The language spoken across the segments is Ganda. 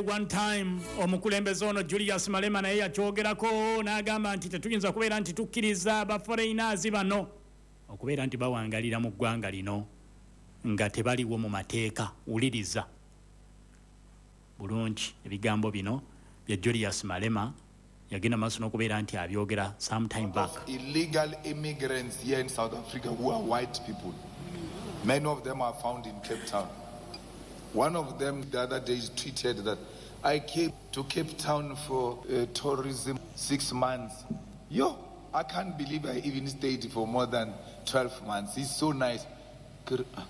One time omukulembeze ono Julius Malema naye yakyogerako n'agamba nti tetuyinza kubeera nti tukkiriza ba foreigners bano okubeera nti bawangalira mu ggwanga lino nga tebaliwo mu mateeka. Wuliriza bulungi ebigambo bino bya Julius Malema, yagenda maaso n'okubeera nti abyogera sometime back. Of illegal immigrants here in South Africa who are white people. Many of them are found in Cape Town. One of them the other day tweeted that I came to Cape Town for tourism 6 months. Yo, I can't believe I even stayed for more than 12 months. It's so nice. Ah.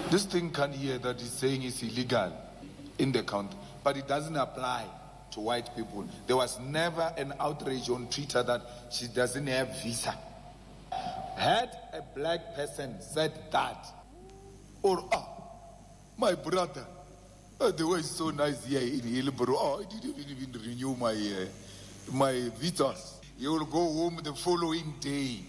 This thing can hear that he's saying is illegal in the country, but it doesn't apply to white people. There was never an outrage on Twitter that she doesn't have visa. Had a black person said that, or ah, my brother, the way is so nice here in Hillbrow. Oh, I didn't even renew my visas. You will go home the following day.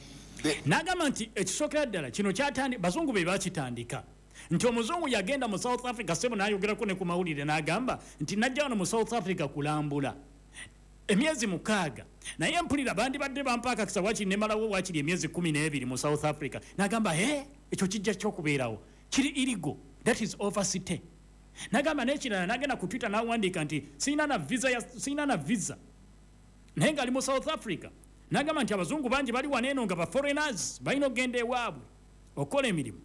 The N'agamba nti ekisookera ddala kino kyatandi bazungu be bakitandika, nti omuzungu yagenda mu South Africa, sebo, n'ayogerako ne ku mawulire n'agamba nti najja wano mu South Africa kulambula emyezi 6, naye mpulira bandibadde bampa akakisa wakiri nemalawo wakiri emyezi 12 mu South Africa. N'agamba, he, ekyo kijja kyokubeerawo kiri illegal, that is overstay. N'agamba n'ekirala, n'agenda ku Twitter n'awandiika nti sirina na visa sirina na visa, naye ng'ali mu South Africa. N'agamba nti abazungu bangi bali wano eno nga ba foreigners balina okugenda ewaabwe okukola emirimu.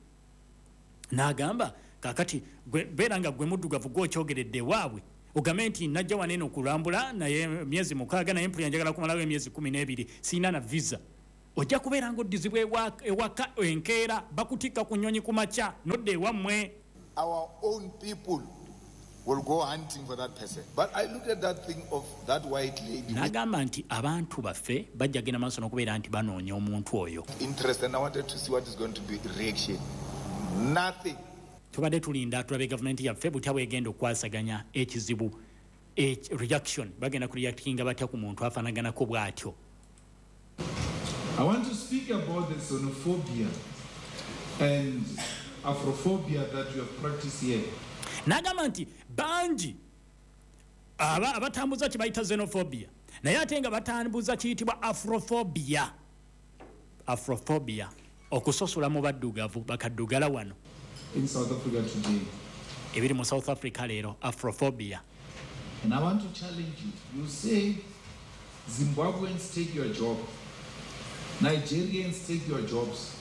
N'agamba kakati gwe beera nga gwe muddugavu gwokyogeredde ewaabwe, ogambe nti najja wano eno kulambula naye myezi 6, naye mpulira njagala kumalawo emyezi 12, sirina na visa, ojja kubeera ng'oddizibwa ewaka enkeera, bakutikka ku nnyonyi ku makya nodda ewammwe. Our own people will go hunting for that person. But I looked at that thing of that white lady with N'agamba nti abantu baffe bajja genda maaso n'okubeera nti banoonya omuntu oyo. interest and I wanted to see what is going to be reaction. Nothing. Tubadde tulinda tulabe gavumenti yaffe butya bwegenda okukwasaganya ekizibu, reaction, bagenda kureactinga batya ku muntu afaanaganako bw'atyo. I want to speak about the xenophobia and Afrophobia that you have practiced here. N'agamba nti bangi abatambuza kye bayita xenophobia, naye ate nga batambuza kiyitibwa afrophobia, afrophobia, okusosola mu baddugavu bakaddugala wano in South Africa today. Ebiri mu South Africa leero, afrophobia. And I want to challenge you. You say Zimbabweans take your job, Nigerians take your jobs.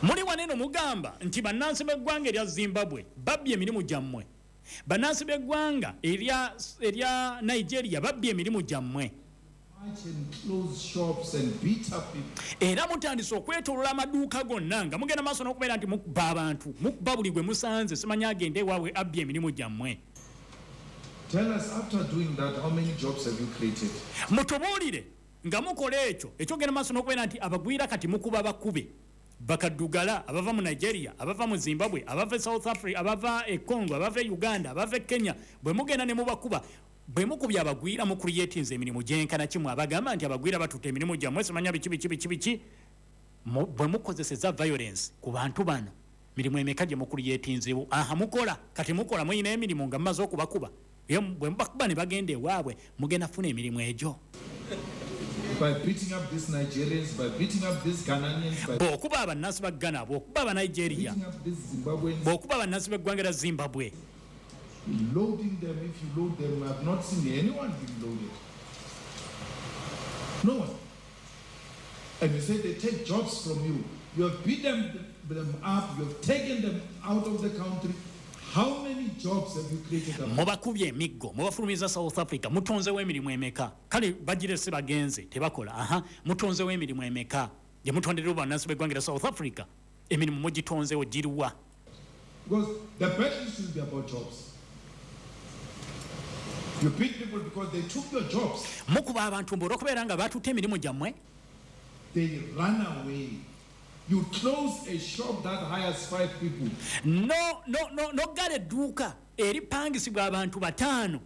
Muli wano eno mugamba nti bannansi b'eggwanga erya Zimbabwe babbye emirimu gyammwe, bannansi b'eggwanga erya Nigeria babbye emirimu gyammwe. March and close shops and beat up people. Era mutandise okwetolola amaduuka gonna nga mugenda maaso n'okubeera nti mukuba abantu, mukuba buli gwe musanze, simanyi agende ewaabwe, abbye emirimu gyammwe. Tell us, after doing that, how many jobs have you created? Mutubuulire, nga mukola ekyo ekyogenda maaso n'okubeera nti abagwira kati mukuba bakube bakaddugala abava mu Nigeria, abava mu Zimbabwe, abava e South Africa, abava e Congo, abava e Uganda, abava e Kenya, bwe mugenda ne mubakuba, bwe mukubye abagwira, mucreatinze emirimu gyenkana kimu? Abagamba nti abagwira batutte emirimu gyammwe, simanya biki biki biki biki, bwe mukozeseza violence ku bantu bano, mirimu emeka gye mucreatinzewo? Aha, mukola kati, mukola muyina emirimu nga mumaze okubakuba? Ye bwe mubakuba ne bagenda ewaabwe, mugenda funa emirimu egyo? By beating up these Nigerians, by beating up these Ghanaians, by Bw'okuba abannansi ba Ghana, bw'okuba Abanigeria, beating up these Zimbabweans, bw'okuba abannansi b'eggwanga lya Zimbabwe, loading them, if you load them, I've not seen anyone being loaded. No one. And you say they take jobs from you. You have beat them up, you have taken them out of the country. How many jobs have you created? Mubakubye emiggo, mubafulumiza South Africa, mutonzewo emirimu emeka? Kale bagirese bagenze tebakola. Aha, mutonzewo emirimu emeka gye mutonderera bannansi b'eggwanga lya South Africa? Emirimu mugitonzewo giruwa? Because the battle should be about jobs. You beat people because they took your jobs. Mukuba abantu mbu olw'okubeera nga batutte emirimu gyammwe. They run away. You close a shop that hires five people. No no no noggala edduuka eripangisibwa abantu bataano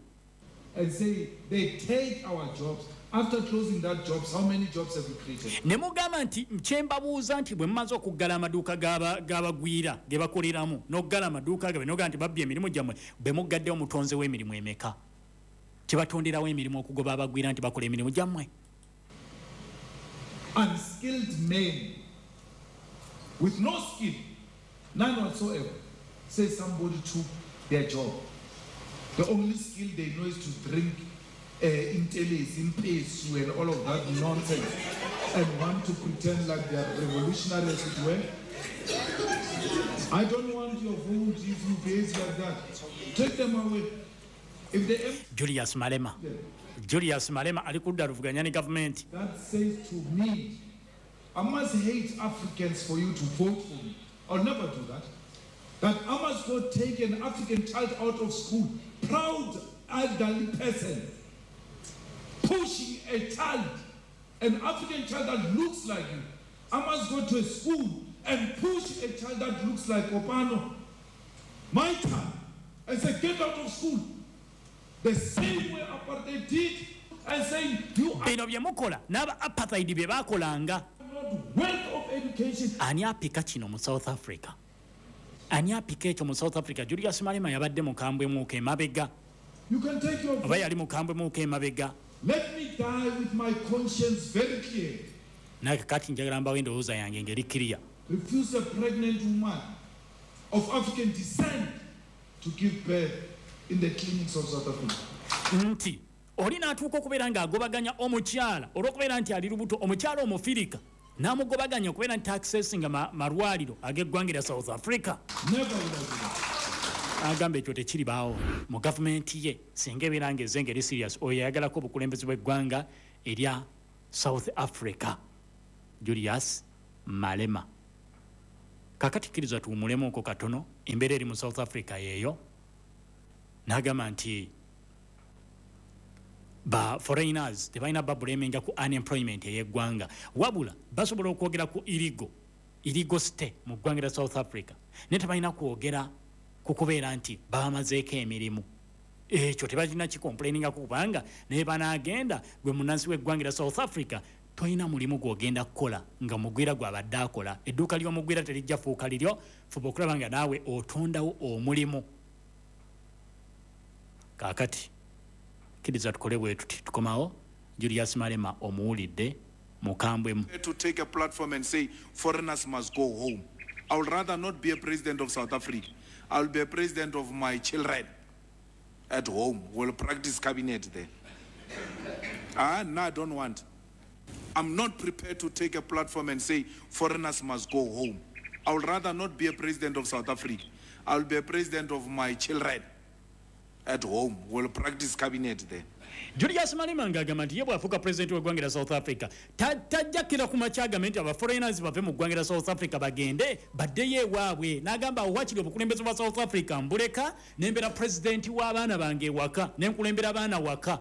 And say they take our jobs. After closing that jobs, how many jobs have you created? Ne mugamba nti kyembabuuza nti bwe mumaze okuggala amaduuka g'abagwira ge bakoleramu n'okuggala amaduuka gabe n'ogamba nti babbye emirimu gyammwe, bwe muggaddewo mutonzewo emirimu emeka? Kibatonderawo emirimu okugoba abagwira nti bakola emirimu gyammwe? Unskilled men with no skill, none whatsoever, say somebody took their job. The only skill they know is to drink intelezi, impesu, and all of that nonsense, and want to pretend like they are revolutionary, as it were. I don't want your vote if you behave like that. Take them away. If they Julius Malema. Julius Malema ali kudda luvuganya ne gavumenti. That says to me, I must hate Africans for you to vote for me. I'll never do that. That I must go take an African child out of school, proud elderly person, pushing a child, an African child that looks like you. I must go to a school and push a child that looks like Kopano, my child, and say, get out of school. The same way apartheid did, and saying, you are bino bye mukola n'aba apartheid bye baakolanga. not worth of education. Ani apika kino mu South Africa? Ani apika ekyo mu South Africa? Julius Malema yabadde mukambwe muko emabega. You can take your Oba yali mukambwe muko emabega. Let me die with my conscience very clear. Naye kati njagala mbawo endowooza yange ng'eri clear. Refuse a pregnant woman of African descent to give birth in the clinics of South Africa. Nti oli n'atuuka okubeera ng'agobaganya omukyala olw'okubeera nti ali lubuto, omukyala omufirika n'amugobaganya okubeera nti accessinga malwaliro ag'eggwanga lya South Africa. Never will I do that. Agamba ekyo tekiribaawo mu gavumenti ye singa ebeera ng'ezze ng'eri serious. Oyo yayagalako obukulembeze bw'eggwanga erya South Africa, Julius Malema. Kaakati kkiriza tuwumulemuko katono. Embeera eri mu South Africa yeeyo. N'agamba nti ba foreigners tebalina babulaminga ku unemployment ey'eggwanga, wabula basobola okwogera ku illegal stay mu ggwanga lya South Africa, naye tebalina kwogera ku kubeera nti babamazeeko emirimu. Ekyo tebalina kicomplainingako, kubanga naye banaagenda gwe munnansi w'eggwanga lya South Africa tolina mulimu gw'ogenda kukola nga mugwira gw'abadde akola. Edduuka ly'omugwira terijja fuuka liryo. Fuba okulaba nga naawe otondawo omulimu. Kaakati kkiriza tukole bwe tuti, tukomawo. Julius Malema omuwulidde mukambwemu. To take a platform and say foreigners must go home. I would rather not be a president of South Africa. I will be a president of my children at home. We'll practice cabinet there. No, I don't want. I'm not prepared to take a platform and say foreigners must go home. I would rather not be a president of South Africa. I will be a president of my children at home. We'll practice cabinet there. Julius Malema ng'agamba nti ye bw'afuuka pulezidenti w'eggwanga lya South Africa tajjakira ku makya agambe nti abaforeigners bave mu ggwanga lya South Africa bagende baddeyo ewaabwe. N'agamba awo wakiri obukulembeze bwa South Africa mbuleka nembeera pulezidenti w'abaana bange ewaka, nenkulembera abaana waka.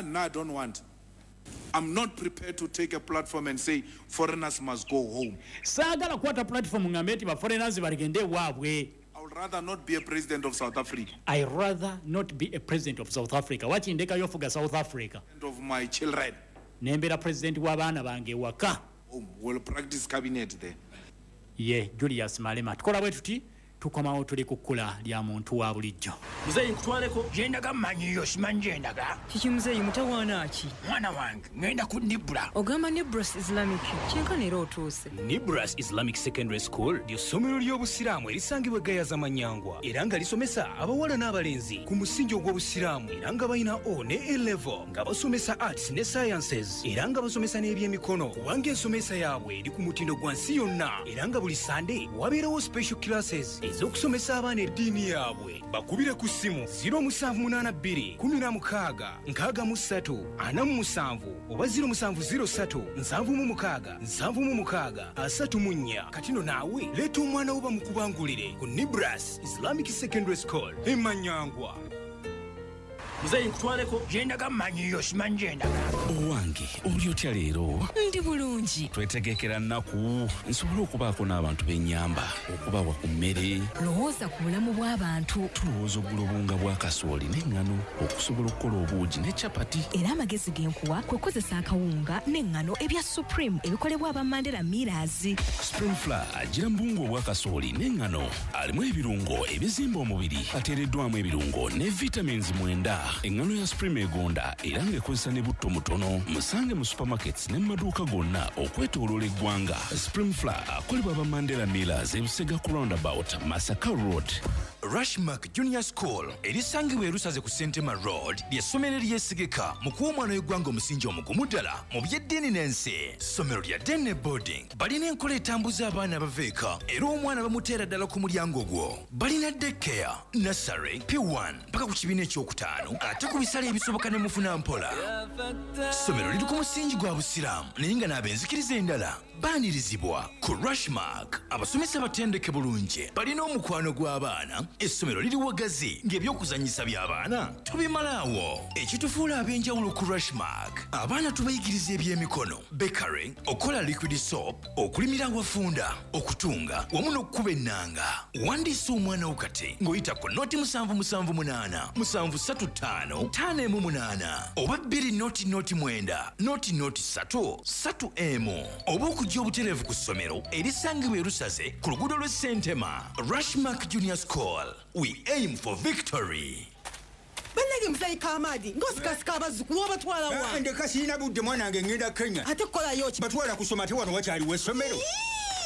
No, I don't want. I'm not prepared to take a platform and say foreigners must go home. Saagala kukwata platform ngambe nti baforeigners bagende ewaabwe. I would rather not be a president of South Africa. I rather not be a president of South Africa. Wakindekayo ofuga South Africa. And of my children. Nembeera president w'abaana bange ewaka. Home. We'll practice cabinet there. Ye Julius Malema. Tukola bwe tuti, tukomawo tuli ku kkula lya muntu wa bulijjo. Muzeeyi nkutwaleko. Gyendaga mmanyiyo, simanyi gyendaga. Kiki muzeeyi, mutawaana ki? Mwana wange, ŋŋenda ku Nibra. Ogamba Nibras Islamic, kyenkana era otuuse. Nibras Islamic Secondary School ly'essomero ly'obusiraamu erisangibwa e Gayaza Manyangwa, era nga lisomesa abawala n'abalenzi ku musingi ogw'obusiraamu, era nga balina O ne A level, nga basomesa arts ne sciences, era nga basomesa n'ebyemikono, kubanga ensomesa yaabwe eri ku mutindo gwa nsi yonna, era nga buli Sande wabeerawo special classes ez'okusomesa abaana eddiini yaabwe. Bakubire ku ssimu 0782 16 63 47 oba 0703 76 76 34. Kati no naawe leeta omwana wo bamukubangulire ku Nibras Islamic Secondary School e Manyangwa. Muzeeyi, nkutwaleko gyendaga. Mmanyiyo, simanyi gyendaga. Owange, oli otya leero? Ndi bulungi. Twetegekera nnaku nsobole okubaako n'abantu b'ennyamba, okubawa ku mmere. Lowooza ku bulamu bw'abantu. Tulowooza ogula obuwunga bwa kasooli n'eŋŋano okusobola okukola obuugi ne capati. Era amagezi ge nkuwa kwe kukozesa akawunga n'eŋŋano ebya Supreme ebikolebwa aba Mandela Millers. Supreme Flour agira mu buwunga obwa kasooli n'eŋŋano, alimu ebirungo ebizimba omubiri, ateereddwamu ebirungo ne vitamins 9. Eŋŋano ya Supreme egonda era ng'ekozesa ne butto mutono. Musange mu supermarkets ne mu maduuka gonna okwetooloola eggwanga. Supreme Flour akolebwa aba Mandela Millers, ebusega ku roundabout, Masaka Road. Rushmark Junior School erisangibwa erusaze ku Sentema Road ly'essomero eryesigika mu kuwa omwana w'eggwanga omusingi omugumu ddala mu by'eddiini n'ensi. Ssomero lya day ne boarding, balina enkola etambuza abaana abava eka era omwana bamuteera ddala ku mulyango gwo. Balina daycare, nursery, P1 paka ku kibiina ekyokutaano, ate ku bisale ebisoboka ne mufuna mpola. Ssomero liri ku musingi gwa Busiraamu, naye nga n'ab'enzikiriza endala baanirizibwa. Ku Rushmark abasomesa batendeke bulungi, balina omukwano gw'abaana. Essomero liri wagazi ng'ebyokuzannyisa by'abaana tubimalaawo. Ekitufuula ab'enjawulo ku Rushmark, abaana tubayigiriza ebyemikono, bakery, okukola liquid soap, okulimira awafunda, okutunga wamu n'okukuba ennanga. Wandiisa omwana wo kati ng'oyita ku 077 735 518 oba 2 0 0 9 0 0 3 3 1, oba okujja obutereevu ku ssomero erisangibwa erusaze ku luguudo lw'e Sentema. Rushmark Junior School, we aim for victory. Bannange, muzeeyi Kamaadi, ng'osikasika abazzukulu, obatwala wa? Ndeka, sirina budde. Mwana wange, ngenda Kenya. Ate kukolayo ki? Batwala kusoma. Ate wano wakyaliwo essomero?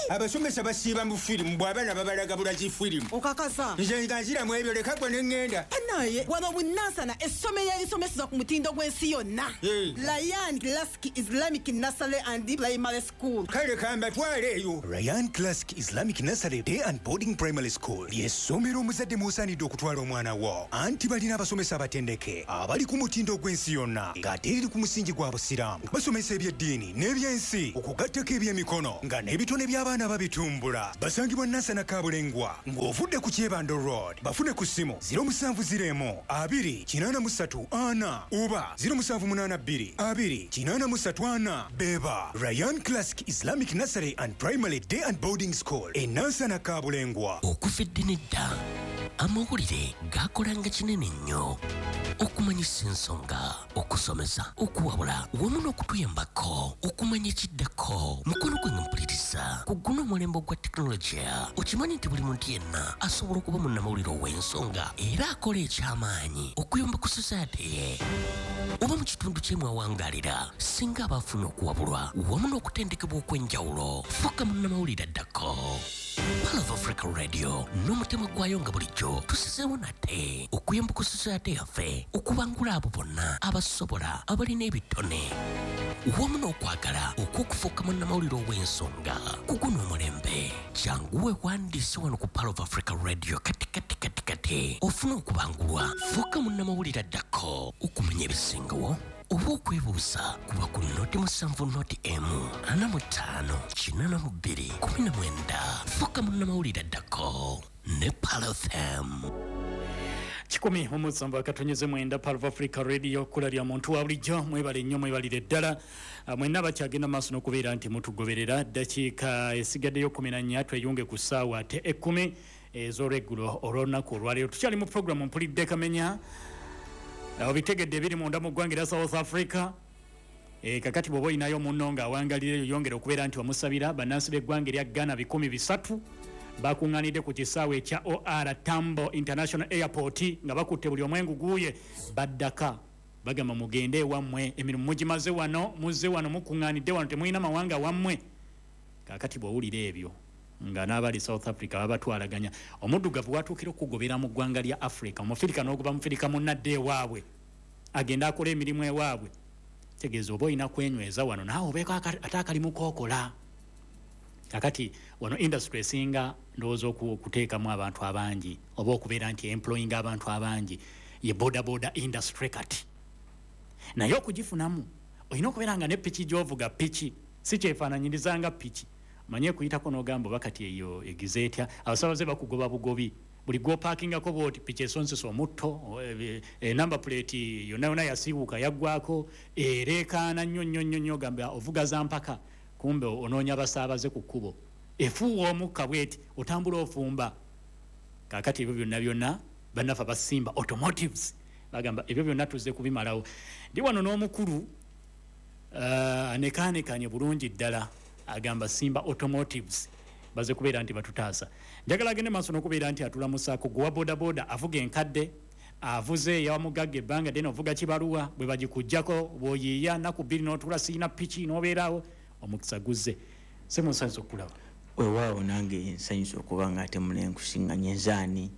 Abasomesa basiiba mu firimu, bw'abaana babalaga bulazi firimu. Okakasa? Nze nga nziramu ebyo, leka gwe ne ŋŋenda. Banaye, wano bunansana essomero erisomeseza ku mutindo gw'ensi yonna, Ryan Classic Islamic Nursery and Primary School. Kale kambatwale eyo. Ryan Classic Islamic Nursery Day and Boarding Primary School ly'essomero omuzadde mw'osaanidde okutwala omwana wo, anti balina abasomesa abatendeke abali ku mutindo gw'ensi yonna, ng'ate eriri ku musingi gwa Busiraamu. Basomesa ebyeddiini n'ebyensi, okugattako ebyemikono, nga n'ebitone by'abaana babitumbula. Basangibwa Nansana Kabulengwa ng'ovudde ku Kyebando Road. Bafune ku ssimu 0701 2 83 4 oba 0782 2 83 4. Beba Ryan Classic Islamic Nursery and Primary Day and Boarding School e Nansana Kabulengwa. Okuva edda nedda, amawulire gakolanga kinene nnyo okumanyisa ensonga, okusomesa, okuwabula wamu n'okutuyambako okumanya ekiddako. Mukono gwange mpuliriza, ku guno omulembe ogwa tekinologiya, okimanyi nti buli muntu yenna asobola okuba munnamawulire ow'ensonga era akola ekyamaanyi okuyamba ku society ye oba mu kitundu kyemwawangalira, singa aba afuna okuwabulwa wamu n'okutendekebwa okw'enjawulo. Fuuka munnamawulire addako. Pearl of Africa Radio n'omutima gwayo nga bulijjo tusizeewo nate okuyamba ku society yaffe, okubangula abo bonna abasobola, abalina ebitone wamu n'okwagala okw'okufuuka munnamawulire ow'ensonga ku guno omulembe. Jangu weewandiise wano ku Pearl of Africa Radio kati kati kati kati, ofune okubangulwa, fuuka munnamawulire addako. Okumanya ebisingawo oba okwebuuza, kuba ku 070 1 45 82 19. Fuuka munnamawulire addako ne Pearl FM. 107.9, Pearl of Africa Radio, kkula lya muntu wa bulijjo. Mwebale nnyo, mwebalire ddala. Mwenna bakyagenda maaso n'okubeera nti mutugoberera. Ddakiika esigaddeyo 14 tweyunge ku ssaawa ate 10 ez'olweggulo olw'olunaku olwaleero. Tukyali mu puroguramu Mpulidde Kamenya. Obitegedde ebiri munda mu ggwanga erya South Africa. Kakati bw'oba olinayo munno ng'awangalireyo, yongera okubeera nti omusabira. Bannansi b'eggwanga erya Ghana 300 bakuŋŋaanidde ku kisaawe ekya OR Tambo International Airport nga bakutte buli omwengu guuye baddaka. Bagamba, "Mugende ewammwe, emirimu mugimaze wano, muzze wano, mukuŋŋaanidde wano, temulina mawanga wammwe." Kaakati bw'owulira ebyo nga n'abali South Africa babatwalaganya, omuddugavu watuukira okugobera mu ggwanga lya Africa, omufirika n'ogoba mufirika munnadde ewaabwe agende akola emirimu ewaabwe, tegeeza oba olina kwenyweza wano naawe obeeko ate akalimu kookola. Kakati wano industry esinga ndowooza okuteekamu abantu abangi oba okubeera nti employing abantu abangi ye boda boda industry. Kati naye okugifunamu olina okubeera nga ne piki gy'ovuga, piki si kyefaananyiriza nga piki, manye kuyitako n'ogamba oba kati eyo egize etya. Abasabaze bakugoba bugobi. Buli gw'opaakingako bwoti piki esonsesa omutto, number plate yonna yonna yasiiwuuka, yaggwako, ereekaana nnyo nnyo nnyo nnyo, gamba ovuga za mpaka, kumbe onoonya basaabaze ku kkubo. Efuuwa omukka bweti, otambula ofumba. Kaakati ebyo byonna byonna bannaffe aba Simba Automotives bagamba ebyo byonna tuzze kubimalawo. Ndi wano n'omukulu anekaanekanye bulungi ddala, agamba Simba Automotives baze kubeera nti batutaasa. Njagala agende maaso n'okubeera nti atulamusaako. Gwe wa bodaboda avuga enkadde, avuze eyawamugagga ebbanga ddene, ovuga kibaluwa bwe bagikugjako, bw'oyiiya nnaku 2 n'otuula, siina piki n'obeeraawo, omukisa guzze. Semunsanyusa okukulaba. Weewaawo, nange nsanyusa okuba nga ate munenkusiŋŋanye nzaani.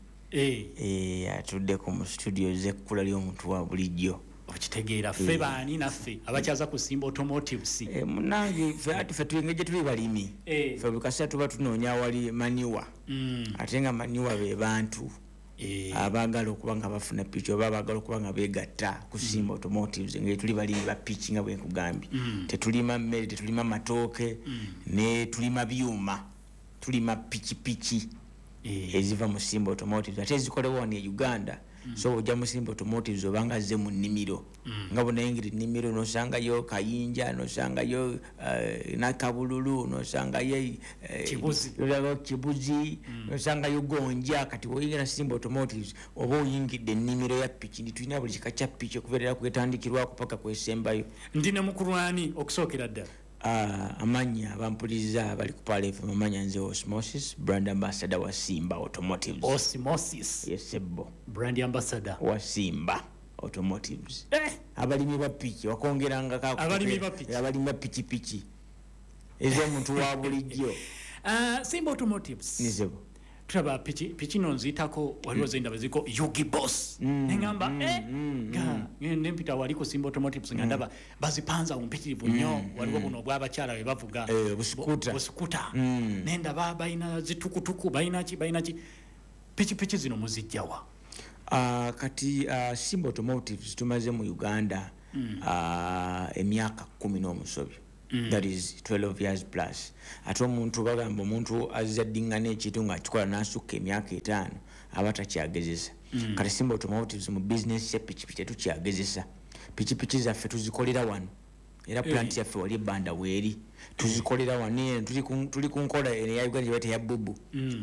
Atuddeko mu studio z'ekkula ly'omuntu wa bulijjo. Okitegeera, ffe baani naffe abakyaza ku Simba Automotives? Munange, ffe ati ffe tuli engeri gye tuli balimi, ffe buli kaseera tuba tunoonya awali manure, ate nga manure be bantu abaagala okuba nga bafuna piki oba abaagala okuba nga beegatta ku Simba Automotives. Engeri tuli balimi ba piki nga bwe nkugambye, tetulima mmere, tetulima matooke, ne tulima byuma, tulima pikipiki eziva mu Simba Automotives ate ezikolebwa wano e Uganda. So ojja mu Simba Automotives obanga azze mu nnimiro, nga bwonayingira ennimiro nosangayo kayinja, nosangayo nakabululu, nosangayo Kibuzi. Kibuzi, nosangayo gonja. Kati woyingira Simba Automotives oba oyingidde ennimiro ya piki, ndi tulina buli kika kya piki okubeerera kwetandikirwako paka kwesembayo. Ndi ne mukulwani okusookera ddala? Amannya abampuliriza abali ku Pearl FM, amanya nze Osmosis, brand ambassador wa Simba Automotives. Osmosis. Yes, sebbo. Brand ambassador wa Simba Automotives. Abalimi ba piki wakongerangako Abalimi ba piki. Abalimi ba pikipiki ez'omuntu wa bulijjo. Simba Automotives. Nizebo. Tulaba piki piki no nziyitako, waliwo zendaba ziriko Yugi Boss, neŋŋamba nga nempita wali ku Simba Automotives nga ndaba bazipanza mpitirivu nnyo. Waliwo buno obw'abakyala bwe bavuga, busikuta. Busikuta. Nendaba balina zitukutuku, balina ki, balina ki. Pikipiki zino muzijjawa? Kati Simba Automotives tumaze mu Uganda emyaka 10 n'omusobyo. That is 12 years plus. Ate omuntu bagamba omuntu azaddiŋŋana ekintu ng'akikola n'asukka emyaka 5 aba takyagezesa. Kati Simba Automotives mu bizinesi ya pikipiki tetukyagezesa. Pikipiki zaffe tuzikolera wano, era plant yaffe wali ebbanda weeri, tuzikolera wano eno. Tuli ku nkola eno eya Uganda gye bayita ya bubu,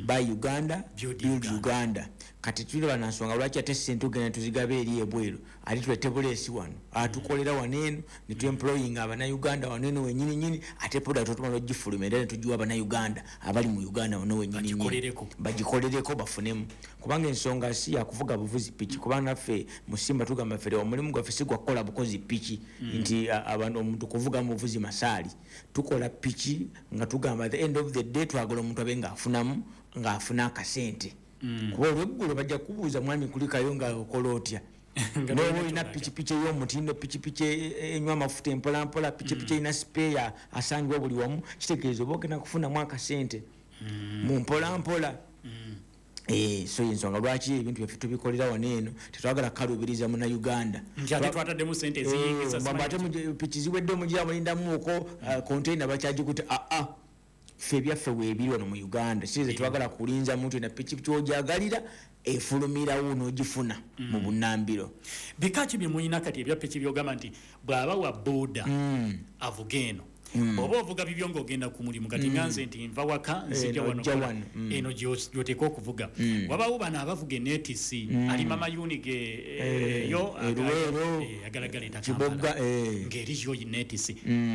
Buy Uganda, Build Build Uganda. Kati tulaba na nsonga lwaki ate sente tugenda tuzigaba eri ebweru, ate tulete buleesi wano, atukolera wano eno ne tuemployinga abannayuganda wano eno wenyini nyini, ate product otumala ogifulumya era ne tugiwa abannayuganda abali mu Uganda wano wenyini nyini. Bagikolereko. Bagikolereko bafunemu, kubanga ensonga si yakuvuga buvuzi piki, kubanga naffe mu Simba tugamba ffe omulimu gwaffe si gwa kukola bukozi piki, nti abantu omuntu kuvuga mu buvuzi masaali. Tukola piki nga tugamba at the end of the day twagala omuntu abe ng'afunamu, ng'afuna akasente, kuba olweggulo bajja kubuuza, mwami kulikayo nga okola otya? Nga N'oba tolina olina ky'olaga. pikipiki ey'omutindo, pikipiki enywa amafuta empolampola, pikipiki erina sipeeya asangibwa buli wamu, kitegeeza oba ogenda kufunamu akasente mu mpolampola. So ensonga lwaki ebintu byaffe tubikolera wano eno, tetwagala kukaluubiriza munnayuganda. Nti ate twataddemu sente eziyingiza, Mbamba ate simanyi piki ziwedde, omugira mulindamuuko container bakyagikutte. Aa, ffe ebyaffe weebiri wano mu Uganda, si tetwagala kulinza muntu na pikipiki ogyagalira efulumirawo n'ogifuna mu bunnambiro. Bika ki bye mulina kati ebya piki byogamba nti bw'aba wa boda avuga eno, bw'oba ovuga bibyo ng'ogenda ku mulimu, kati nga nze nti nva waka nzija wano Ojja kola, wano. Eno gy'oteeka okuvuga. Wabawo bano abavuga enetisi, alima mayuni ge, yo Luweero, agalagala Kiboga, Kampala. Ng'eri yo netisi.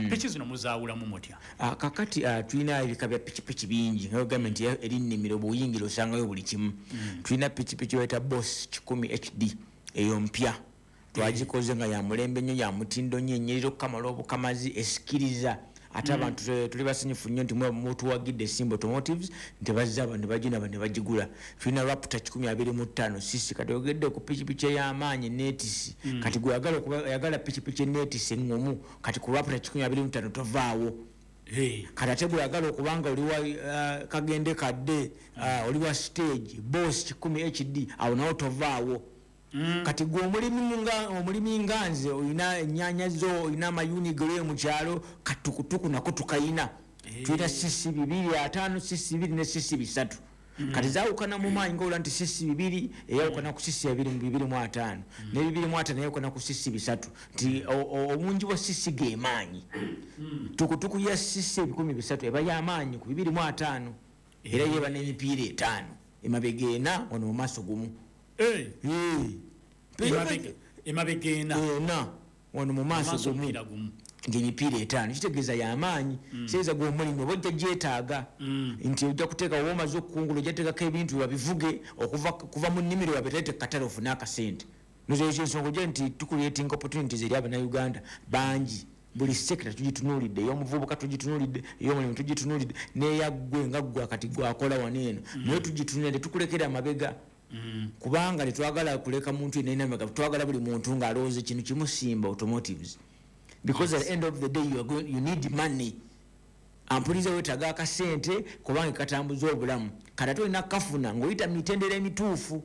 Piki zino muzaawulamu mutya? Kakati tulina ebika bya pikipiki bingi, nga ogambye nti eri nnimiro, bw'oyingira osangayo buli kimu. Tulina pikipiki bayita Boss 100 HD, eyo mpya twagikoze nga ya mulembe nnyo, ya mutindo nnyo, enyerera okukamala obukamazi, esikiriza. Ate abantu tuli basanyufu nnyo nti mutuwagidde Simba Automotives, nti bazze abantu ne bagina ne bagigula. Tulina Raptor 125 cc. Kati ogedde ku pikipiki ey'amaanyi netisi, kati gwe oyagala pikipiki enetisi eŋŋomu, kati ku Raptor 125 tovaawo. Kati ate bweyagala okubanga oli wa kagende kadde, oli wa stage, Boss 100 HD, awo nawo tovaawo. Kati gwe omulimi nga nze, olina ennyaanya zo, olina amayuni gole mu kyalo, katukutuku nako tukayina. Tulina cc 250, cc 2 ne cc 3. Kati zaawukana mu maanyi, ngaola nti cc 2 eyawukana ku cc 225, ne 25 eyawukana ku cc 3, nti obungi bwa cc ge maanyi. Tukutuku ya cc 300 eba y'amaanyi ku 205, era yeba n'emipiira 5 emabega 4, wano mu maaso 1. Emabega 4, 4 wano mu maaso 1, ng'emipiira 5, kitegeeza y'amaanyi. Kitegeeza gwe omulimu oba ojja gyetaaga, nti ojja kuteeka oba omaze okukungula, ojja teekako ebintu babivuge okuva mu nnimiro babiteete katale ofune akasente. Nozo ensonga ojja nti tucreating opportunities eri Abannayuganda bangi. Buli sector tugitunuulidde, ey'omuvubuka tugitunuulidde, ey'omulimu tugitunuulidde, n'eyaggwe nga ggwe akati gwakola wano eno naye tugitunuulidde. Tukulekera amabega kubanga tetwagala kuleka muntu yenna amabega. Twagala buli muntu ng'alowooza ekintu kimu, Simba Automotives, because at the end of the day you need money. Ampuliza, wetaaga akasente kubanga katambuza obulamu. Kati ate olina kafuna ng'oyita mitendera emituufu.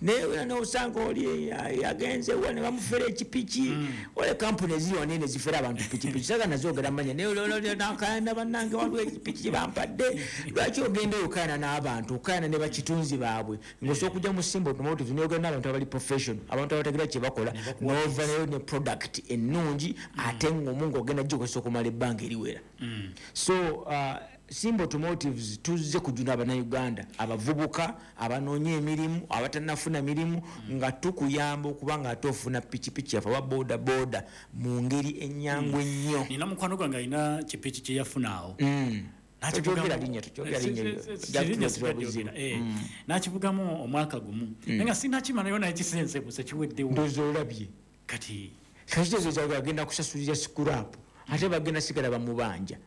Naye nosanga oli yagenze wa ne bamufera ekipiki. Ole kampuni eziri wanene zifera abantu pikipiki, saga nazogera manya, naye nakayana, bannange waliwo ekipiki kyebampadde. Lwaki ogenda okayana n'abantu, okayana ne bakitunzi baabwe, ng'osobola okujja mu Simba Automotive neyogera n'abantu abali professional, abantu abategera kye bakola, nova nayo ne product ennungi ate ngumu ng'ogenda gikozesa okumala ebbanga eriwera. So Simba Automotives tuzze kujuna Abannayuganda abavubuka abanoonya emirimu, abatannafuna mirimu, nga tukuyamba okuba nga ate ofuna pikipiki yaffe oba boda boda mu ngeri ennyangu ennyo. Nina mukwano gwange alina kipiki kye yafuna awo. Tokyogera linnya, tokyogera linnya. Buzibu. Nakivugamu omwaka gumu, naye nga sinakimalayo, naye kisensebuse kiweddewo. Ndowooza olabye. Kati kakitegeeza agenda kusasulira scrap, ate bagenda sigala bamubanja.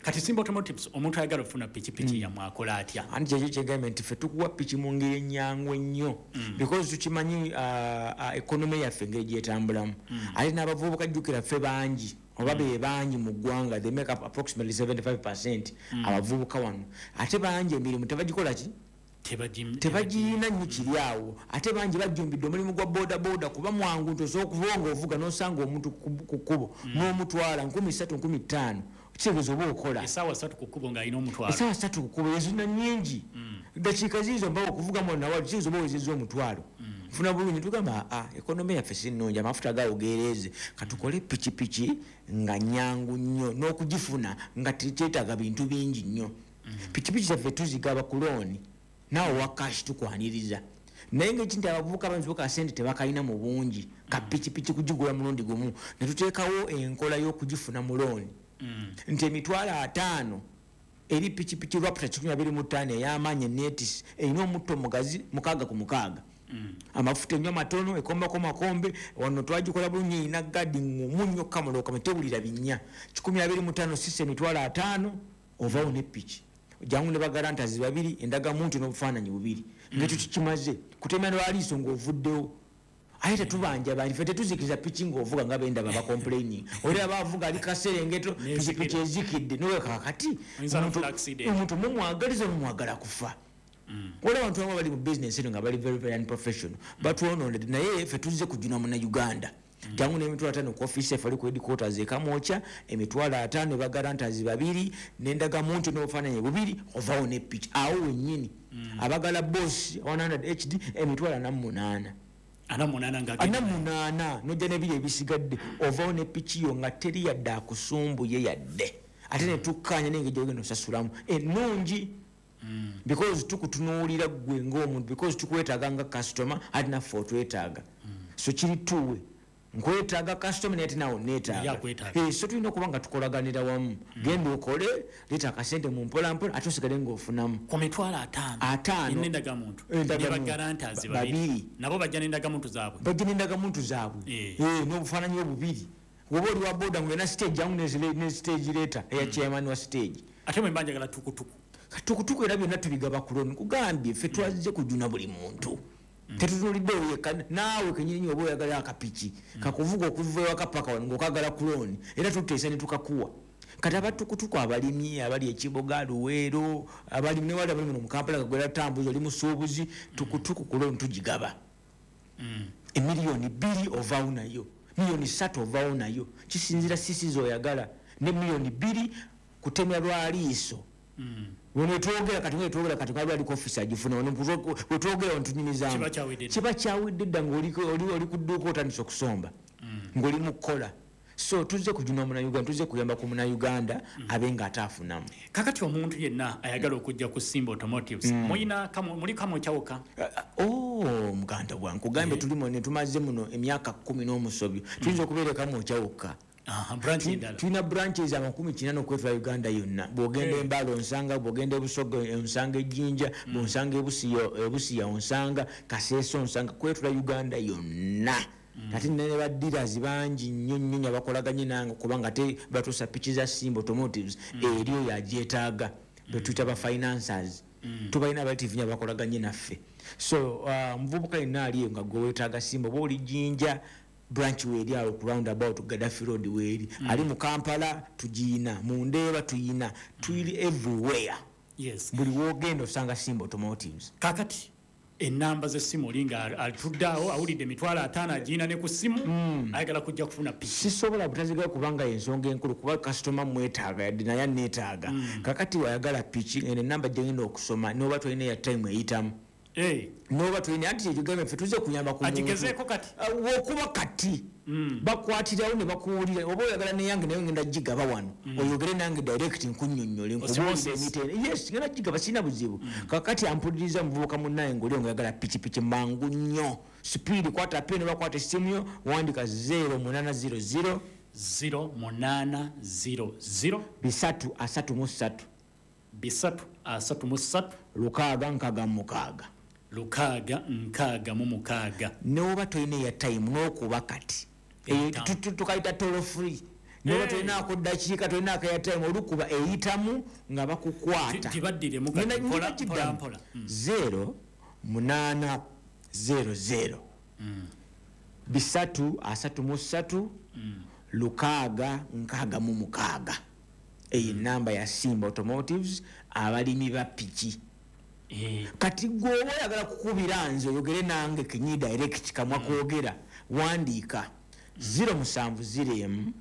Kati Simba Automotives, omuntu ayagala okufuna pikipiki yammwe akola atya? Anti kyekyo kyegambye nti ffe tukuwa piki mu ngeri ennyangu ennyo, because tukimanyi economy yaffe engeri gyetambulamu. Ate n'abavubuka, jjukira ffe bangi oba be bangi mu ggwanga, they make up approximately 75 abavubuka wano. Ate bangi emirimu tebagikola ki, tebagiyina nnyo kiri awo. Ate bangi bajjumbidde omulimu gwa boda boda kuba mwangu, nti osobola okuba nga ovuga n'osanga omuntu ku kkubo n'omutwala 3000, 5000, kitegeeza oba okola Essaawa 3 ku kkubo ng'alina omutwalo. Essaawa 3 ku kkubo ezina nnyingi, dakiika ziizo mbawo okuvugamu nawali, kitegeeza oba owezezza omutwalo. Nfuna bulungi, tugamba aa economy yaffe si nnungi, amafuta gaawo geereeze, katukole pikipiki nga nyangu nnyo n'okugifuna, nga tekyetaaga bintu bingi nnyo. Pikipiki zaffe tuzigaba ku loan, naawe wa cash tukwaniriza, naye ngaeki nti abavubuka banzibuka sente tebakalina mu bungi ka pikipiki kugigula mulundi gumu, ne tuteekawo enkola y'okugifuna mu loan, nti 50,000 eri pikipiki Raptor 125 ey'amaanyi, eneetisi, erina omutto omugazi 6 ku 6, amafuta enywa matono, ekombako makombe. Wano twagikola bulungi, erina gadi ngumu nnyo, kamulokama tewulira binnya. 125 sisa 50,000, ovawo ne piki. Jangu ne baguarantors babiri, endagamuntu n'obufaananyi bubiri, ngekyo kikimaze kutemya lwaliiso ng'ovuddewo. Aye tetubanja bangi, ffe tetuzikiriza piki ng'ovuga nga bendaba bacomplaining. Oli aba avuga ali kaserengeto, pikipiki ezikidde noweka. Kakati Oyinza n'okufuna accident. Omuntu mumwagaliza, mumwagala kufa. Waliwo abantu abamu bali mu business eno nga bali very very unprofessional, batwononedde, naye ffe tuzze kujuna Munnayuganda. Jangu n'50,000 ku ofiisi yaffe ali ku headquarters ekamwokya, 50,000, baguarantors babiri, n'endagamuntu n'obufaananyi bubiri, ovawo ne piki awo wennyini. Abagala Boss 100 HD 48,000. 48 nga 48, nojja nebiri ebisigadde, ovawo ne piki yo nga teri yadde akusumbuye yadde. Ate netukkanya nengeri gyogenda osasulamu ennungi, because tukutunuulira ggwe ng'omuntu, because tukwetaaga nga customer, ate naffe otwetaaga. So kiri tuwe, nkwetaaga customer, naye ate naawe Naye neetaaga. akwetaaga. So tulina okuba nga tukolaganira wamu. Genda okole, leeta akasente mu mpolampola, ate osigale ng'ofunamu. Ku 50,000. 50. N'endagamuntu. Endagamuntu. Ne baguarantors Babiri. babiri, nabo bajja n'endagamuntu zaabwe. Bajja n'endagamuntu zaabwe. N'obufaananyi obubiri. Woba oli wa boda ng'olina stage, jangu ne stage letter eya chairman wa stage. Ate bwe mba njagala tukutuku? Tukutuku era byonna tubigaba ku loan. Kugambye ffe twazze kujuna buli muntu, tetutunulidde oyo yekka. Naawe kenyini oba oyagala akapiki kakuvuga okuva ewaka paka wano ng'okagala ku loan, era tuteesa ne tukakuwa. Kati abatukutuku, abalimi abali ekiboga, Luweero, abalimi newali abali muno mu Kampala kagwera tambuzi, oli musuubuzi, tukutuku ku loan tugigaba. 2 miliyoni ovaawo nayo, 3 miliyoni ovaawo nayo, kisinzira sisi zoyagala. Ne 2 miliyoni kutemya lwaliiso. Wetwogera kati, wetwogera kati kwali ali ku office agifuna wano wetwogera ntunyumizaamu. Kiba kyawedde dda. Kiba kyawedde dda, ng'oli ku dduuka otandise okusomba, ng'oli mu kukola. So tuzze kujuna Munauganda, tuzze kuyamba ku Munauganda abe nga ate afunamu. Kakati omuntu yenna ayagala okujja ku Simba Automotives, muyina muli Kamwokya? Oh, muganda bwange, kugambe tulimu ne tumaze muno emyaka 10 n'omusobyo, tuyinza okubeera e Kamwokya wokka. Branch endala? Tulina branches 80 okwetula Uganda yonna. Bwogenda Embala onsanga, bwogenda Ebusoga onsanga, Ejjinja bwonsanga, Ebusiya onsanga, Kaseesa onsanga, kwetula Uganda yonna. Ate nina ne ba dealers bangi nnyo nnyo nnyo abakolaganye nange, kubanga ate batuusa piki za Simba Automotives eri oyo agyetaaga, betuyita ba financers. Tubalina abalitivu nnyo abakolaganye naffe. So omuvubuka yenna ali eyo nga gwe weetaaga Simba, oba oli Jjinja, branch weeri awo ku roundabout Gaddafi Road weeri. Ali mu Kampala tugiina, mu Ndeeba tuyina, tuli everywhere. Buli wogenda osanga Simba Automotives. Kakati enamba z'essimu, oli nga atudde awo awulidde 50,000 agiina ne ku ssimu, ayagala kujja kufuna piki. Sisobola butazigayo kubanga ensonga enkulu, kuba kasitoma mwetaaga, yadde naye aneetaaga. Kakati wayagala piki, eno enamba gyengenda okusoma, noba tolina ya time eyitamu, noba tolina, anti kyekigambye ffe tuzze kuyamba ku muntu. Agigezeeko kati. Wokuba kati bakwatirawo ne bakuwulira, oba oyagala neyange naye ngenda gigaba wano, oyogere nange direct, nkunnyonnyole, nkubuulire Osmosis. emitendera. Yes, ngenda gigaba, sirina buzibu. Kakati ampuliriza, muvubuka munnaye ng'oli oyagala pikipiki mangu nnyo, speed, kwata peni, bakwata essimu yo, wandika 0800 0800 333 333 666 666. Noba tolina eya time n'okuba kati. Eyo tukayita toll free. Noba tolinaako ddakiika, tolinaako eya time, olukuba eyitamu nga bakukwata. Gibaddiremu kati, Ngenda mpola, giddamu. mpola, mpola. 0800 333 666. Eyo enamba ya Simba Automotives, abalimi ba piki. Kati gwe oba oyagala kukubira nze oyogere nange kenyi direct, kamwa kwogera, wandiika 0701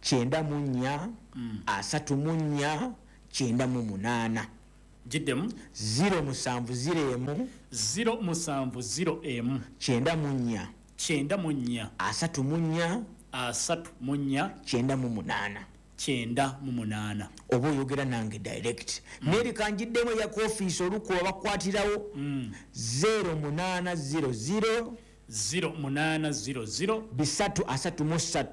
94 34 98. Giddemu. 0701 0701 94 94 34 34 98. 98. Oba oyogera nange direct. Nerika njiddemu eya ku ofiisi, olukuba bakwatirawo 0800 0800 333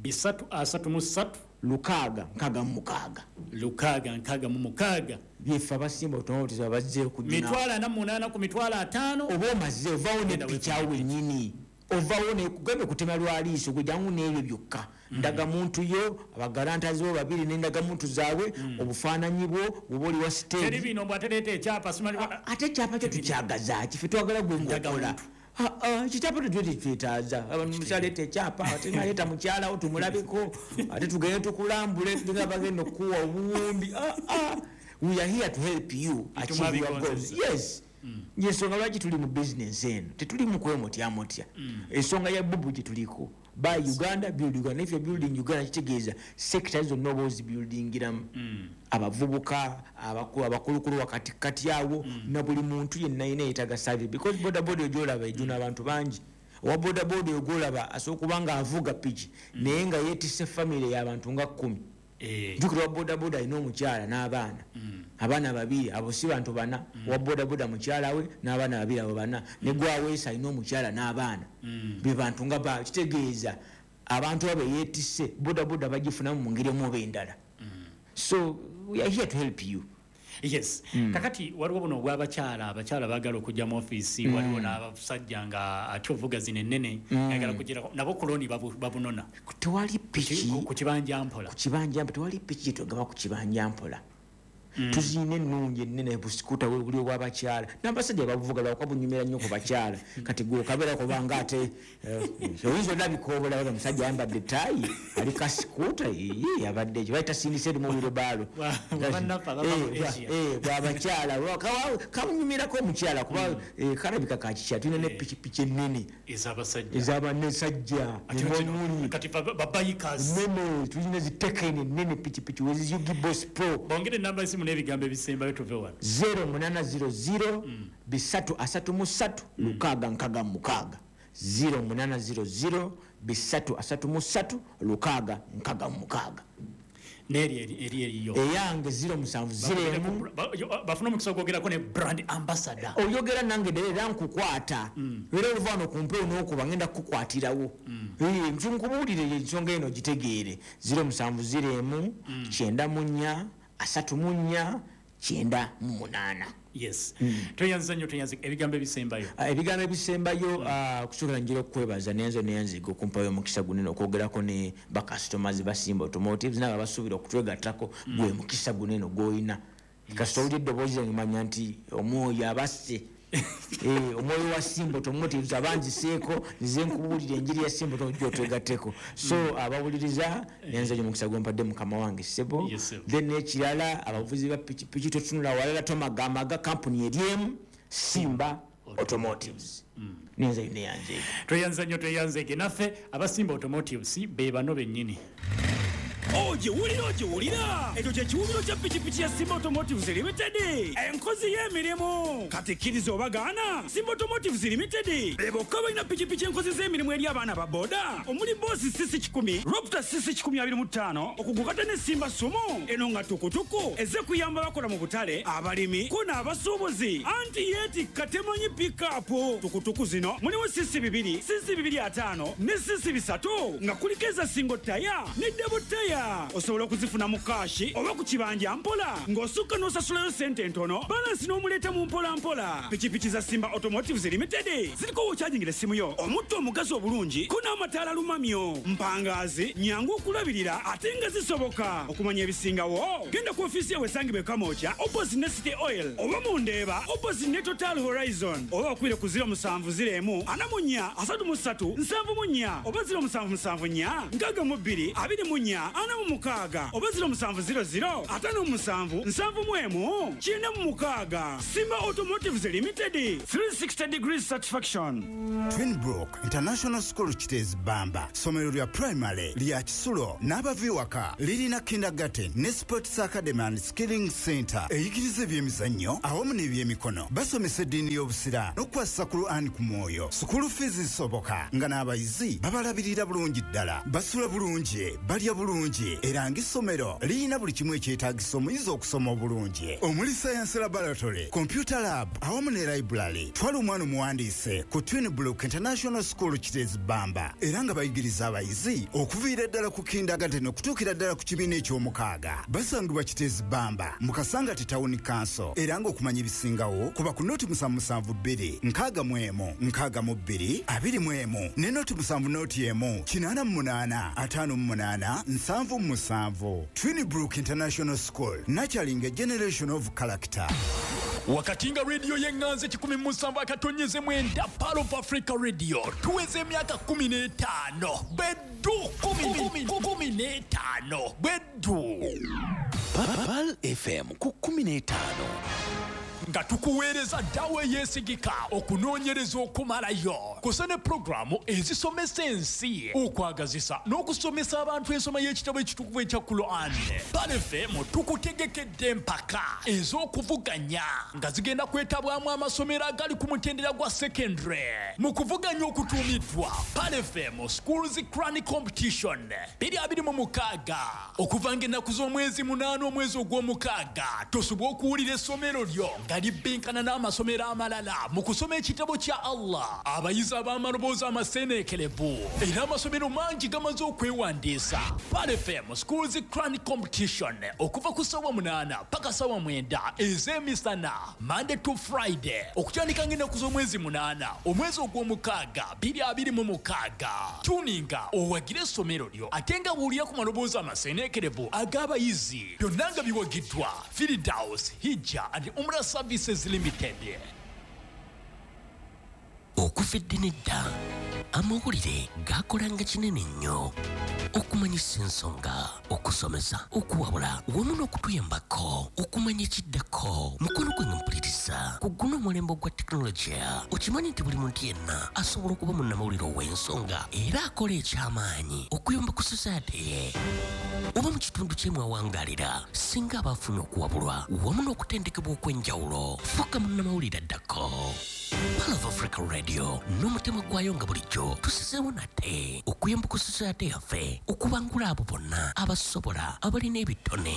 333 666 666. Byeffe abasimba Automotives abazze okujuna. 48,000 ku 50,000. Oba omaze ovawo Genda. Nepikyawo wenyini ovawo nekugambye kutema lwaliiso, gwe jangu n'ebyo byokka, ndagamuntu yo, abagalantazi bo babiri n'endagamuntu zaabwe, obufaananyi bwo bwoba oli wa Teri stage. bino mbw atereeta ekyapa simanyi. Ate ekyapa kyo tukyagaza ki? Ffe twagala gwe ngaokola. Ekyapa tetwe tetwetaaza. Abantu mukyaleeta ekyapa, ate naleeta mukyalawo tumulabeko, ate tugende tukulambule, tulinga bagenda okukuwa obuwumbi. We are here to help you achieve your goals. Yes, yensonga lwaki tuli mu bizinesi eno, tetuli mu kwemotyamotya. Ensonga ya bubu gye tuliko, buy Uganda, build Uganda. If you're building Uganda, kitegeeza sector zonna oba ozibuildingiramu, abavubuka, abakulukulu wakati kati awo, na buli muntu yenna yina yeetaaga service, because boda boda gyolaba ejuna abantu bangi. Owa boda boda oyo gwolaba asobola okuba nga avuga piki naye nga yeetisse famire y'abantu nga 10. Jjukira, wa boda boda alina omukyala n'abaana, abaana babiri, abo si bantu bana? Owa boda boda mukyala we n'abaana babiri, abo bana. Ne gwaweesa alina omukyala n'abaana, be bantu nga ba kitegeeza abantu abo yeetisse boda boda bagifunamu mu ngeri emu oba endala. So we are here to help you. Yes. Kakati waliwo buno obw'abakyala, abakyala baagala okujja mu ofiisi. Waliwo n'abasajja nga ate ovuga zino ennene, ayagala kugirako, nabo ku looni babunona. Tewali piki ku kibanja mpola. Ku kibanja mpola, tewali piki gyetwagaba ku kibanja mpola. Tuzirina ennungi ennene, busikuta buli obw'abakyala n'abasajja babuvuga, lwakuba bunyumira nnyo ku bakyala. Kati gwe okabeera kubanga ate oyinza olabika obulaba omusajja ayambadde ettaayi ali kasikuta, abadde ekyo baita sindise erimu wirobaalo. Bannaffe abava mu Asia. Bwabakyala kamunyumirako omukyala kuba kalabika kakikyala. Tulina ne pikipiki ennene ez'abasajja. Ez'abanesajja. Ate emuli kati ba bikers. Nene, tulina zitekeni ennene, pikipiki weziyugi Boss Pro. Bongere enamba esimu. essimu n'ebigambo ebisembayo tuve wano. 0800 333 666, 0800 333 666. Neri eri eriyo eyange 0701. Bafuna omukisa ogwogerako ne brand ambassador. Oyogera nange ddala era nkukwata, era oluva wano kumpewo n'okuba ngenda kukukwatirawo. Nkubuulire ensonga eno gitegeere. 0701 94 34 98. Yes, tweyanza nnyo, tweyanza. Ebigambo ebisembayo? Ebigambo ebisembayo, kusookera njira okukwebaza nenzo neyanziga okumpayo omukisa gunene okwogerako ne bacustomers ba Simba Automotives nabo abasuubira okutwegattako. Gwe mukisa gunene gw'olina. Kasita owulira eddoboozi lyange, manya nti omwoyo abasse. Omwoyo wa Simba Automotives abanziseeko, nze nkubuulira enjiri ya Simba Automotives otwegatteko. So abawuliriza, nenza nyo omukisa gwempadde mukama wange ssebo. Yes, sir. Then n'ekirala, abavuzi ba pikipiki, totunula walala, tomagamaga, kampuni eri emu, Simba Automotives. Nenza yino yanzeeko. Tweyanza nnyo, tweyanzeege. Naffe abasimba Automotives be bano bennyini. Ogiwulira, ogiwulira, ekyo kye kiwubiro kya pikipiki ya Simba Automotives Limited, enkozi y'emirimu. Kati kkiriza oba gaana, Simba Automotives Limited be bokka balina pikipiki enkozi z'emirimu eri abaana ba boda, omuli Boss cc 100, Raptor cc 125, okugukata ne Simba Sumo eno nga tukutuku ezze kuyamba bakola mu butale, abalimi ko n'abasuubuzi, anti yeetikka temanyi pikapu. Tukutuku zino mulimu cc 2, cc 25 ne cc 300, nga kuliko eza single tyre ne double tyre. Osobola okuzifuna mu cash oba ku kibanja mpola, ng'osukka n'osasulayo sente entono, balance n'omuleeta mu mpola mpola. Pikipiki za Simba Automotives Limited ziriko wokyajingira essimu yo, omutto omugazi obulungi ko n'amataala lumamyo, mpangaazi, nyangu okulabirira ate nga zisoboka. Okumanya ebisingawo, genda ku ofiisi yawe esangibwa e Kamwokya opposite ne City Oil, oba mu Ndeeba opposite ne Total Horizon, oba bakubire ku 0701 44 33 74 oba 0774 62 24 46 oba 0700 57 71 96. Simba Automotives Limited, 360 degrees satisfaction. Twinbrook International School Kiteezi Bamba, ssomero lya primary lya kisulo n'abava ewaka. Lirina kindergarten ne sports academy and skilling center eyigiriza ebyemizannyo awamu n'ebyemikono. Basomesa eddiini y'Obusiraamu n'okukwasisa Quran ku mwoyo. School fees zisoboka, nga n'abayizi babalabirira bulungi ddala, basula bulungi, balya bulungi, era ng'essomero lirina buli kimu ekyetaagisa omuyizi okusoma obulungi, omuli science laboratory, computer lab awamu ne library. Twala omwana omuwandiise ku Twinbrook International School Kiteezi Bamba, era nga bayigiriza abayizi okuviira ddala ku kindergarten okutuukira ddala ku kibiina ekyomukaaga. Basangibwa Kiteezi Bamba mu Kasangati Town Council, era ng'okumanya ebisingawo kuba ku 0772 61 62 21 ne 07 01 88 58 77. Twinbrook International School, nurturing a generation of character. Wakati nga rediyo y'eŋŋanzi 107.9, Pearl of Africa Radio, tuweza emyaka 15 beddu, 15 beddu. Pearl FM ku 15. Nga tukuweereza ddawa eyeesigika, okunoonyereza okumalayo kusa ne pulogulaamu ezisomesa ensi, okwagazisa n'okusomesa abantu ensoma y'ekitabo ekitukuvu ekya Quran. Pearl FM tukutegekedde empaka ez'okuvuganya nga zigenda kwetabwamu amasomero agali ku mutendera gwa secondary mu kuvuganya okutuumiddwa Pearl FM Schools Quran Competition 2026, okuva ng'ennaku z'omwezi 8 omwezi ogw'omukaaga. Tosobola okuwulira essomero lyo nga libbinkana n'amasomero amalala mu kusoma ekitabo kya Allah, abayizi ab'amaloboozi amaseeneekerevu, era amasomero mangi gamaze okwewandiisa. Pearl FM Schools Quran Competition, okuva ku ssaawa 8 paka ssaawa 9 ez'emisana, Monday to Friday, okutandika ng'ennaku z'omwezi 8 omwezi ogw'omukaaga 2026. Tuninga owagire essomero lyo ate nga buulira ku maloboozi amaseeneekerevu ag'abayizi. Byonna nga biwagiddwa Firdaus Hijja and Umrah Services Limited. Okuva edda nedda, amawulire gakolanga kinene nnyo. Okumanyisa ensonga, okusomesa, okuwabula wamu n'okutuyambako okumanya ekiddako. Mukono gwange mpuliriza, ku guno omulembe ogwa tekinologiya, okimanyi nti buli muntu yenna asobola okuba munnamawulire ow'ensonga era akola ekyamaanyi okuyamba ku society ye oba mu kitundu kye mwawangalira, singa aba afunye okuwabulwa wamu n'okutendekebwa okw'enjawulo. Fuuka munnamawulire addako. Pearl of Africa Radio n'omutima gwayo nga bulijjo tusizeewo nate okuyamba ku society yaffe okubangula abo bonna abasobola, abalina ebitone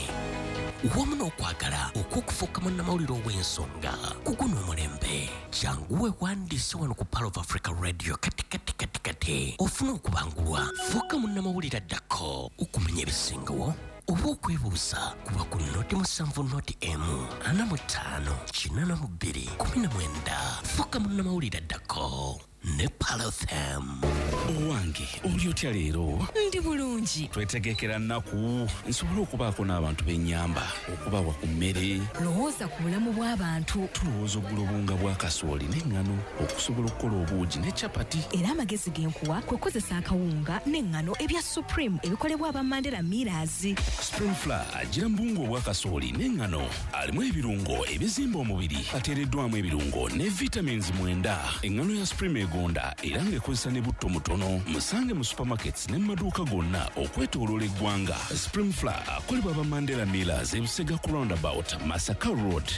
wamu n'okwagala okw'okufuuka munnamawulire ow'ensonga ku guno omulembe. Jangu weewandiise wano ku Pearl of Africa Radio kati kati kati kati ofune okubangulwa. Fuuka munnamawulire addako. Okumanya ebisingawo oba okwebuuza, kuba ku 070 0 45 82 19. Fuuka munnamawulire addako ne Pearl FM. Owange, oli otya leero? Ndi bulungi. Twetegekera nnaku nsobole okubaako n'abantu b'ennyamba okubawa ku mmere. Lowooza ku bulamu bw'abantu. Tulowooza okugula obuwunga bwa kasooli n'eŋŋano okusobola okukola obuugi ne capati. Era amagezi ge nkuwa kwe kukozesa akawunga n'eŋŋano ebya Supreme ebikolebwa aba Mandela Millers. Supreme Flour agira mu buwunga obwa kasooli n'eŋŋano, alimu ebirungo ebizimba omubiri, ateereddwamu ebirungo ne vitamins 9. Eŋŋano ya Supreme egonda era ng'ekozesa ne butto mutono. Musange mu supermarkets ne mu maduuka gonna okwetooloola eggwanga. Supreme Flour akolebwa aba Mandela Millers, Ebusega ku roundabout, Masaka Road.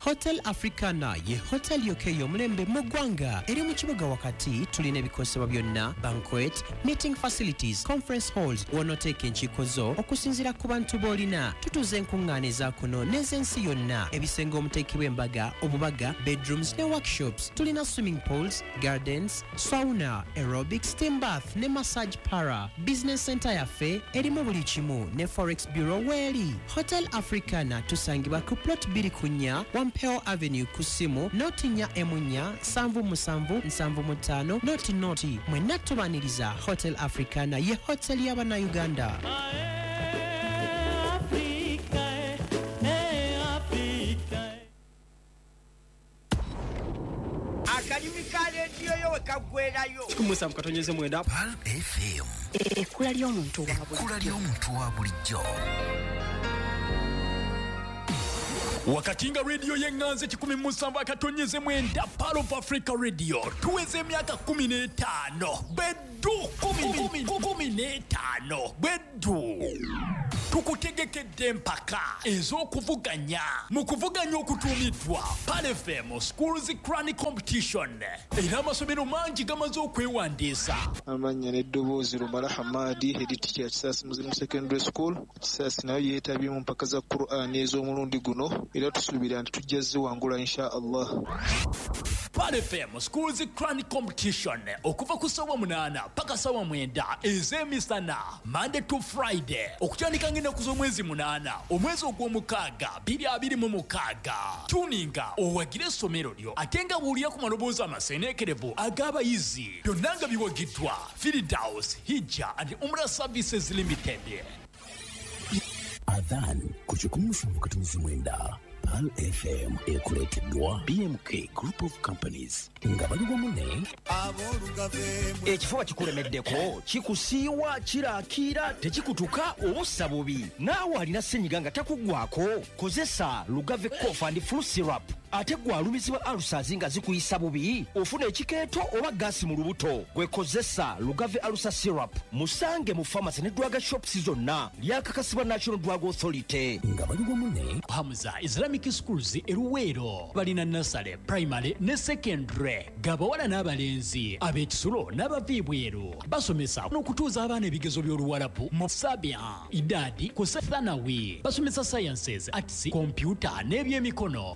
Hotel Africana ye hotel yokka ey'omulembe mu ggwanga, eri mu kibuga wakati. Tulina ebikozesebwa byonna, banquet, meeting facilities, conference halls, w'onooteeka enkiiko zo okusinziira ku bantu b'olina. Tutuuza enkuŋŋaana eza kuno n'ez'ensi yonna, ebisenge omuteekebwa embaga, obubaga, bedrooms ne workshops. Tulina swimming pools, gardens, sauna, aerobics, steam bath ne massage parlour. Business center yaffe erimu buli kimu, ne forex bureau weeri. Hotel Africana tusangibwa ku plot 2 ku 4, Wampeo Avenue, ku ssimu 0 4 14 77 75 00. Mwenna tubaniriza. Hotel Africana ye hotel y'Abannayuganda. Africa, eh, Africa. Akalimi ka leediyo yo we kaggwerayo. 17.9 FM. Ekkula ly'omuntu wa Ekkula ly'omuntu wa bulijjo. Wakati nga rediyo y'eŋŋanzi 17.9, Pearl of Africa Radio, tuweza emyaka 15 beddu, 15 beddu. Tukutegekedde empaka ez'okuvuganya mu kuvuganya okutuumiddwa Pearl FM Schools Quran Competition, era amasomero mangi gamaze okwewandiisa. Amannya n'eddoboozi, Lumala Hamadi, head teacher, Kisaasi Muslim Secondary School. Kisaasi nayo yeetabye mu mpaka za Quran ez'omulundi guno, era tusuubira nti tujja ziwangula, insha Allah. Pearl FM Schools Quran Competition, okuva ku ssaawa 8 paka ssaawa 9 ez'emisana, Monday to Friday, okutandika ng'ennaku z'omwezi 8 omwezi ogw'omukaaga 2026. Tuninga owagire essomero lyo, ate nga buulira ku maloboozi amaseneekerevu ag'abayizi. Byonna nga biwagiddwa Firdaus Hijja and Umrah Services Limited. Adhan ku 17.9 Pearl FM ekuleeteddwa BMK Group of Companies nga bali wamu ne Ekifuba kikulemeddeko, kikusiiwa, kiraakiira, tekikutuka oba ossa bubi, naawe alina senyiga nga takuggwako, kozesa Lugave Cough and Flu Syrup. Ate gwe alumizibwa ulcers nga zikuyisa bubi, ofuna ekikeeto oba gaasi mu lubuto, gwe kozesa Lugave Ulcer Syrup. Musange mu pharmacy ne drug shops zonna. Lyakakasibwa National Drug Authority. Nga bali wamu ne Hamza Islamic Schools eruweero, balina nursery, primary ne secondary, gabawala n'abalenzi, ab'ekisulo n'abava ebweru. Basomesa n'okutuuza abaana ebigezo by'Oluwalabu mu Sabia, Idadi ku Thanawi. Basomesa sciences, arts, computer n'ebyemikono.